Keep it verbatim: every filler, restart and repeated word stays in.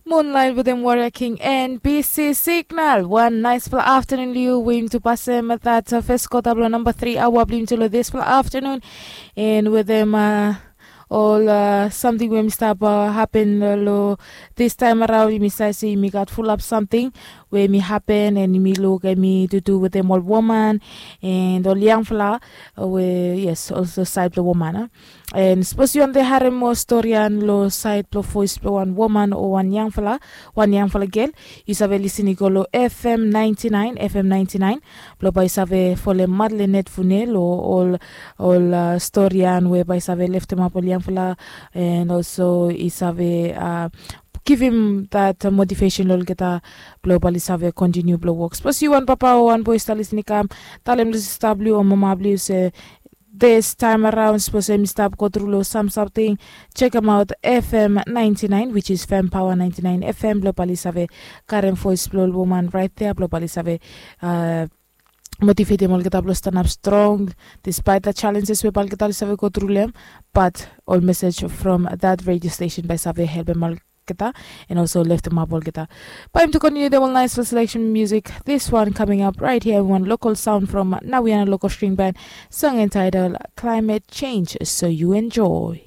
Moonlight wetem Warrior King and B C Signal. Wan naispela aftanun long yu. We yumi tu pasem that uh, first quarter blong number three hour blong yumi tu long dispela aftanun. And wetem uh, ol uh, samting we mi stap uh, happen uh, lo this time around, yumi save se yumi gat fulap samting we mi happen and yumi luk and mi tutu wetem ol woman and ol yangfala uh, we yes also side blong woman uh. And sapos yu wante harem moa storian lo sait blong vois blong wan woman o wan yangfala, wan yangfala gel, yu save lisin i go lo F M ninety nine, F M ninety nine, blong bai save folem matle net fune lo ol ol uh, storian we bai save leftemap ol yangfala, and also i save uh, givim that motivation lo olgeta blong bali save kontiniu blong wok. Sapos yu wan papa o wan boi stap lisin i kam, talem lo sista blong yu o mama blong yu se this time around, sapos em i stap go tru long sam samting, check em out F M ninety nine, which is Fem Power ninety nine F M, blong bali save karem voice blong ol woman right there, blong bali save uh, motivatem olgeta blong stanap strong despite the challenges we balgeta oli save go tru long em. But ol message from that radio station bai save helpem olgeta and also leftemap olgeta. Bai em to continue the one nice selection music. This one coming up right here, one local sound from Nawiana Local String Band, song entitled Climate Change. So you enjoy.